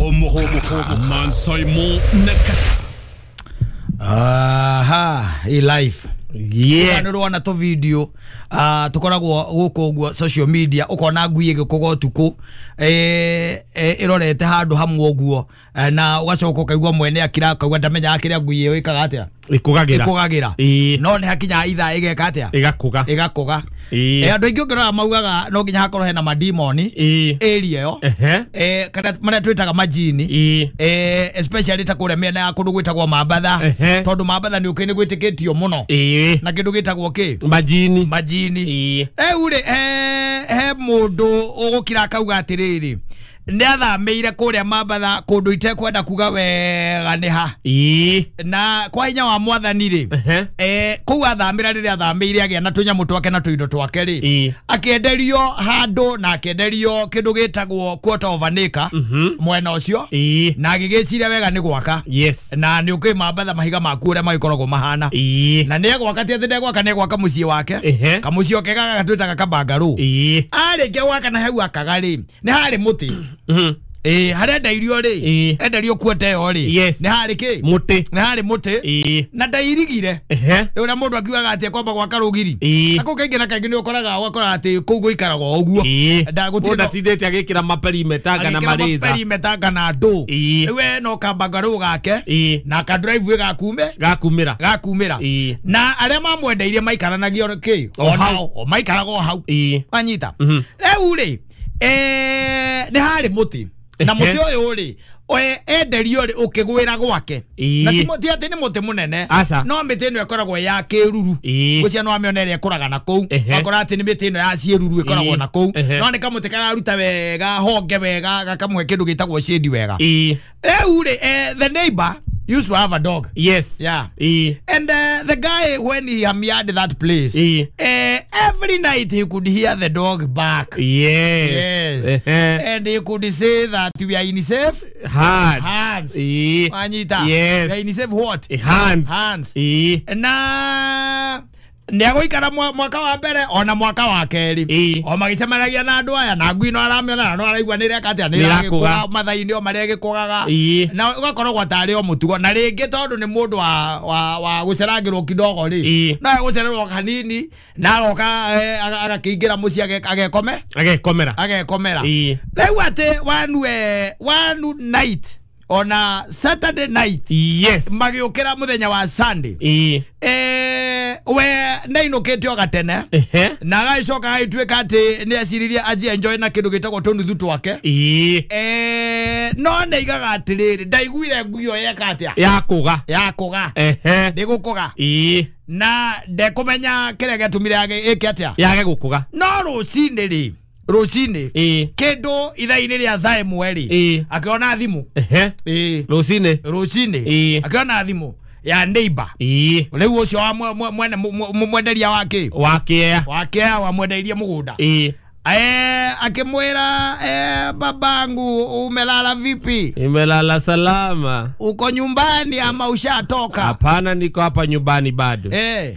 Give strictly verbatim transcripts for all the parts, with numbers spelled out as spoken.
Homoka Mansaimo Nakata. Aha, i life. Yes. Nĩ rwona tũ video uh, tũkoragwo gũkũ ũguo social media ũkona ngui ĩgĩkũga ũtukũ eh, ĩrorete handũ hamwe ũguo na ũgacoka ũkaigua mwene akira akaigua ndamenyaga kĩrĩa ngui ĩyo ĩkaga atĩa ĩkũgagĩra ĩkũgagĩra no nĩ hakinya ithaa ĩgeka atĩa ĩgakũga ĩgakũga. Eh, andũ aingĩ ũngĩrora maugaga no nginya hakorwo hena madimoni area ĩyo eh, kana marĩa twĩtaga majini eh, especially ta kũrĩa mĩena ya kũndũ gwĩtagwo Mambatha tondũ Mambatha nĩ ũkĩ nĩ gwĩtĩkĩtio mũno na kĩndũ gĩtagwo kĩ majini majini. Rĩu rĩ he mũndũ ũgũkira akauga atĩrĩrĩ nĩ athamĩire kũrĩa Mambatha kũndũ itekwenda kuga wega nĩ ha na kwa hinya wa mwathani rĩ eh, kũu athamĩra rĩrĩa athamĩire agĩa na tũnyamũ twake na tũindo twake rĩ akĩenderio handũ na akĩenderio kĩndũ gĩtagwo quarter of an acre mwena ũcio na agĩgĩciria wega nĩ gwaka. Yes. Na nĩ ũkĩ Mambatha mahiga maku ũrĩa magĩkoragwo mahana na nĩ egwaka ti atĩ ndegwaka nĩ egwaka mũciĩ wake kamũciĩ oke gaka gatwĩtaga kabangarũ arĩkia gwaka na hau akaga rĩ nĩ harĩ mũtĩ. Mm-hmm. Eh, harĩa ndairio rĩ enderio kuote ĩyo rĩ nĩ harĩ kĩ mũtĩ nĩ harĩ mũtĩ na ndairigire ũrĩa mũndũ akiugaga atĩ ekwamba gwaka rũgiri na kũu kaingĩ na kaingĩ nĩ ũkoraga ũgakora atĩ kũu gũikaraga o ũguo ndatindĩte agĩkĩra maperimetanga na marĩza maperimetanga na ndũ rĩu we no kambangarũ gake na ka drive gakume gakumĩra gakumĩra na arĩa mamwendeirie maikaranagio kĩ onao o maikaraga o hau wanyita rĩu rĩ eh nĩ harĩ mũtĩ na mũtĩ ũyũ rĩ enderio rĩ ũkĩgwĩra gwake na ti mũtĩ atĩ nĩ mũtĩ mũnene no mĩtĩ ĩno ĩkoragwo ya kĩruru gũcia no amĩona ĩrĩa ĩkũraga na kũu akora atĩ nĩ mĩtĩ ĩno ya ciĩruru ĩkoragwo na kũu no nĩ kamũtĩ kararuta wega honge wega gakamũhe kĩndũ gĩtagwo shade wega. Rĩu rĩ the neighbor used to have a dog. Yes. Yeah. E. And uh, the guy, when he hamiad that place, e. uh, every night he could hear the dog bark. Yes. Yes. Uh-huh. And he could say that we are in safe hands. Hands. E. Anita. Yes. We are in safe what? Hands. Hands. E. Na nĩegũikara mwaka wa mbere ona mwaka wa kerĩ o magĩcemanagia na andũ aya na ngui no aramĩona no araigua nĩ ĩreka atĩa nĩ ĩragĩkũga mathaa-inĩ o marĩa ĩgĩkũgaga na ũgakorwo tarĩ o mũtugo na rĩngĩ tondũ nĩ mũndũ wa wa wa gũcerangĩrwo kidogo rĩ no egũcererwo hanini na agoka agakĩingĩra mũciĩ agekome agekomera agekomera. Rĩu atĩ one one night on a Saturday night. Yes. Magĩũkĩra mũthenya wa Sunday. Eh, we nĩainũkĩte o gatene na agagĩcoka agĩtuĩka atĩ nĩ eciririe anjie enjoy na kĩndũ gĩtagwo tũnuthu twake. Eh, no nĩaigaga atĩrĩrĩ ndaiguire ngui ĩyo yeka atĩa yakũga yakũga ndĩgũkũga na ndekũmenya kĩrĩa gĩatũmire ĩke atĩa yage gũkũga no rũcinĩ rĩ rũcinĩ kĩndũ ithaa-inĩ rĩa thaa ĩmwe rĩ akĩona thimũ rũcinĩ rũcinĩ akĩona thimũ ya neighbor rĩu ũcio wa mwene mwenderia wa kĩ wa kĩea wa kĩea wamwendeirie mũgũnda eh akimwira eh, babangu umelala vipi? Nimelala salama. Uko nyumbani ama ushatoka? Hapana, niko hapa nyumbani bado. Eh.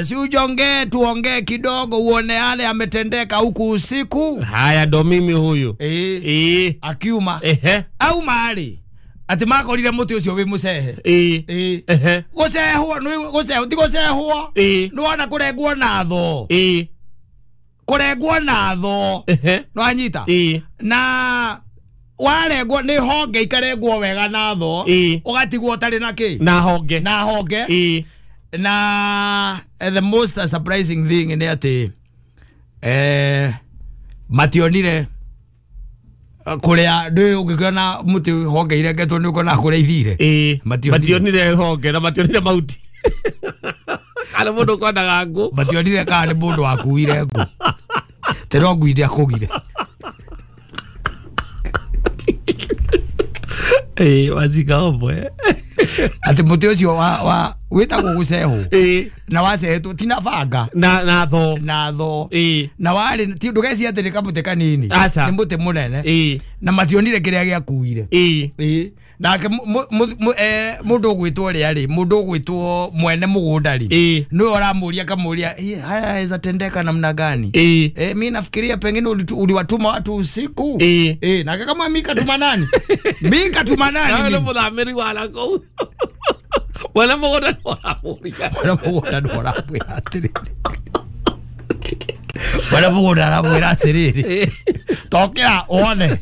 Si ujongee tuongee kidogo uone yale ametendeka huku usiku. Haya ndo mimi huyu. Eh. Eh. Akiuma. Ehe. Au mahali ati makorire muti ucio wi mucehe. Eh. Eh. Ehe. Gucehwo ni gucehwo ti gucehwo. Eh. Ni wona kurengwo na tho. Eh. Kurengwo na tho no anyita na warengwo ni honge ikarengwo wega na tho ugatigwo utari na ki na honge na honge na the most surprising thing ni ati eh mationire kuria ndi ungikiona muti honge irengetwo ni ukona kuria ithire mationire honge na mationire mauti kana mundu kwendaga ngu mationire kana ni mundu wakuire ngu tero ngui ndiakugire eh wazika obwe ati muti ucio wa wa Wĩtagwo gũcehwo. Ĩĩ. Na wacehetwo ti na banga. Na na tho. Na tho. Ĩĩ. Na warĩ ti ndũgecirie atĩ nĩ kamũtĩ kanini. Aca. Nĩ mũtĩ mũnene. Ĩĩ. Na mationire kĩrĩa gĩakuire. Ĩĩ. Ĩĩ. Nake mũndũ ũgwĩtwo ũrĩa rĩ, mũndũ ũgwĩtwo mwene mũgũnda rĩ, Ĩĩ. nĩwe ũramũria akamũria, haya yaweza tendeka namna gani? Ĩĩ. Eh, mi nafikiria pengine uliwatuma watu usiku. Ĩĩ. Eh, nake kama mi katuma nani? Mi katuma nani? Nawe nĩ mũthamĩri wa nakũu. Mwene mũgũnda nĩwe ũramũria. Mwene mũgũnda nĩwe ũramwĩra atĩrĩrĩ. Mwene mũgũnda aramwĩra atĩrĩrĩ. Tokĩra wone.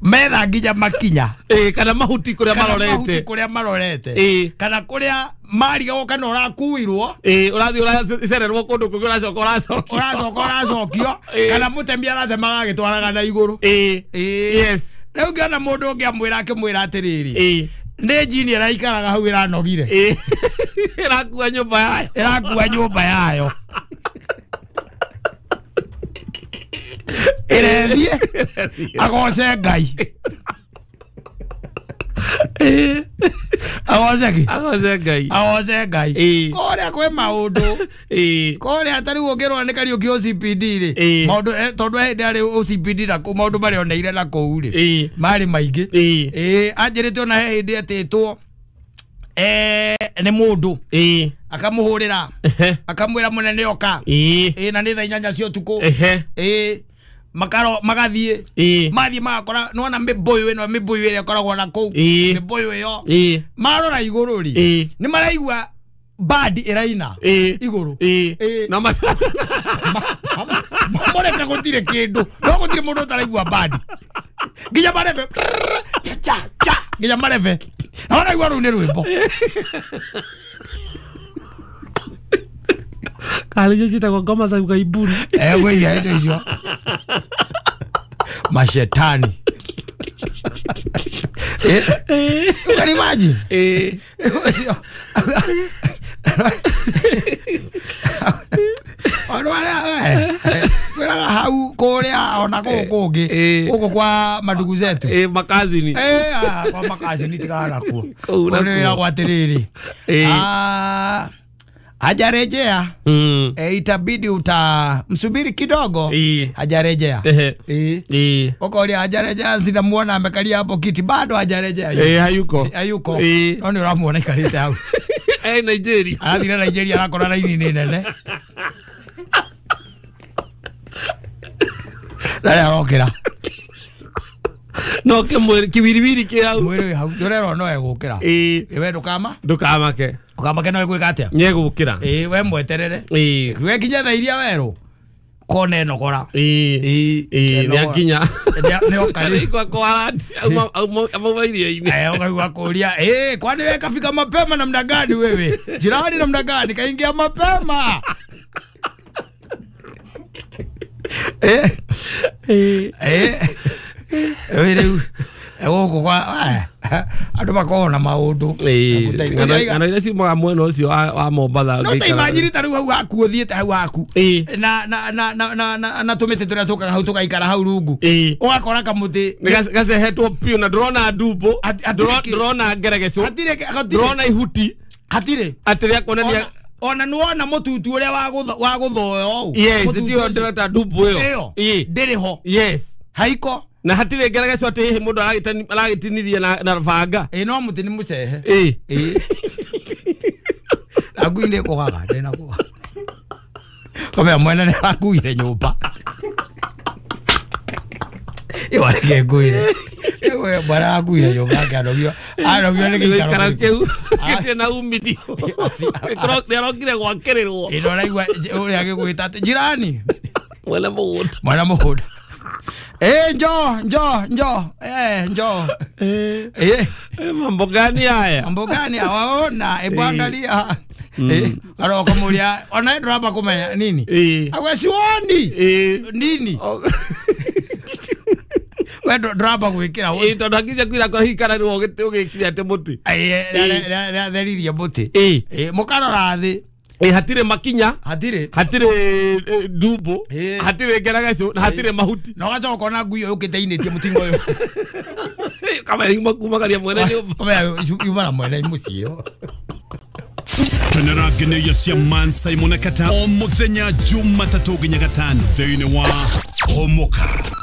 Metha nginya makinya. Ĩĩ, kana mahuti kũrĩa marorete. Mahuti kũrĩa marorete. Ĩĩ. Kana kũrĩa marigagwo kana ũrakuirwo. Ĩĩ, ũrathiĩ ũracererwo kũndũ kũngĩ ũracoka ũracokio. Ũracoka ũracokio. Kana mũtemi aratemaga agĩtwaraga na igũrũ. Ĩĩ. Ĩĩ. Yes. Rĩu ngĩona mũndũ ũngĩ amwĩra akĩmwĩra atĩrĩrĩ. Ĩĩ. Nĩ njini ĩraikaraga hau ĩranogire. Ĩĩ. Ĩrakua nyũmba yayo. Ĩrakua nyũmba yayo. Ĩrethiĩ agoce Ngai. Agoce kĩ? Agoce Ngai. Agoce Ngai. Ĩĩ. Kũrĩa kwĩ maũndũ. Ĩĩ. Kũrĩa ta rĩu ũngĩrora nĩ Kariũki O C P D rĩ. Ĩĩ. Maũndũ tondũ hĩndĩ arĩ O C P D na kũu maũndũ marĩa oneire na kũu rĩ. Ĩĩ. Marĩ maingĩ. Ĩĩ. Ĩĩ, anjĩrĩte ona he hĩndĩ etĩtwo eh nĩ mũndũ. Ĩĩ. Akamũhũrĩra. Akamwĩra mũnene oka. Ĩĩ. Ĩĩ, na nĩ thaa inyanya cia ũtukũ. Ehe. Ĩĩ. Makaro magathiĩ. Ĩĩ. Mathiĩ magakora nĩwona mĩbũyũ ĩno mĩbũyũ ĩrĩa ĩkoragwo na kũu. Ĩĩ. Mĩbũyũ ĩyo. Ĩĩ. Marora igũrũ rĩ. Ĩĩ. Nĩ maraigua bandi ĩraina. Ĩĩ. Igũrũ. Ĩĩ. Ĩĩ. Na maca. Mamoreka gũtirĩ kĩndũ. No gũtirĩ mũndũ ũtaraigua bandi. Nginya marebe. Cha cha cha. Nginya marebe. Na maraigua rũu nĩ rwĩmbo. Kana icio ciĩtagwo ngoma za ugaibuni. Eh, gwĩia indo icio. Mashetani. Eh, you can imagine. Eh. Andũ arĩa kwĩraga hau kũrĩa ona kũu kũngĩ gũkũ kwa madugu zetu. Eh, makazini. Eh, kwa makazini tigana nakuo. Kũu nĩ wĩragwo atĩrĩrĩ. Ah, hajarejea. Mm. E, itabidi uta msubiri kidogo. E. Hajarejea. Ehe. E. E. Ukoria hajarejea, sinamuona amekalia hapo kiti bado hajarejea. Eh, hayuko. Hayuko. E. No ni uramuona ikarite hau. Eh, Nigeria. Arathire Nigeria arakora raini ni nene. Rara arokira. No ke kiwiriwiri ke hau. Mwiri hau. Ndurerwo no egukira. Eh. We ndukama? Ndukamake. Ukamake no egwika atia? Nyegukira. Eh, we mweterere. Eh. We kinya thaa iria werũ. Kone nogora. Eh. Eh, Eh, nĩ akinya. Nĩ oka rĩ. Kwa kwa auma auma iria-inĩ. Eh, ukaigua kũria, eh, kwani wewe kafika mapema namna gani wewe? Jirani namna gani kaingia mapema? Eh. Eh. Eh. Rĩu gũkũ kwa andũ makoragwo na maũndũ. Ng'ano iria ciumaga mwena ũcio wa Mombatha. No ta imagine ta rĩu hau haku ũthiĩte hau haku na na na na na na tũmĩtĩ tũrĩa tũkaga hau tũgaikara hau rungu ũgakora kamũtĩ gacehetwo biũ na ndũrona ndumbo, ndũrona ngeregecũ, ndũrona ihuti, hatirĩ atĩ rĩa kuonania ona nĩwona mũtutu ũrĩa wa gũthoyo ũũ. Yes, tiyo ndĩreta ndumbo ĩyo ndĩrĩ ho. Yes. Haiko. Na hatirĩ ngeregeco atĩ hihi mũndũ aragĩtinirie na na banga. Ĩĩ, no mũtĩ nĩ mũcehe. Ĩĩ. Ĩĩ. Na ngui nĩ ĩkũgaga, ndĩna kũgaga. Kamera mwene nĩ arakuire nyũmba. Ĩyo reke ngwĩre. Ĩyo mwana arakuire nyũmba akĩanogio. Anogio nĩ gĩikaro kĩu. Gĩtirĩ na umithio. Nĩ arokire gwakĩrĩrwo. Ĩno ũraigua ũrĩa agĩgwĩta atĩ jirani. Mwene mũgũnda. Mwene mũgũnda. Eh, njoo, njoo, njoo. Eh, njoo. Eh. Eh, mambo gani haya? Mambo gani waona? Hebu angalia. Eh, aroko muria ona nduramba kumenya nini? Eh. Agwe sioni. Eh. Nini? We nduramba gwikira. Eh, tondu akinya kwira kwa hikara ni ũgĩkire atĩ mũtĩ. Eh, rĩatheririe mũtĩ. Eh. Eh, mũkarora thĩ. Eh, hatirĩ makinya, hatirĩ hatirĩ ndumbo, hatirĩ ngeregeco, na hatirĩ mahuti. Na ũgacoka ũkona ngui ĩyo yũkĩte inĩtie mũtingo ũyũ. Kama yuma kumagaria mwene nyũmba. Kama yuma na mwene mũciĩ. Kenera ngeneia cia Man Simon na Kata o muthenya Jumatatũ nginya gatano thĩinĩ wa Homoka.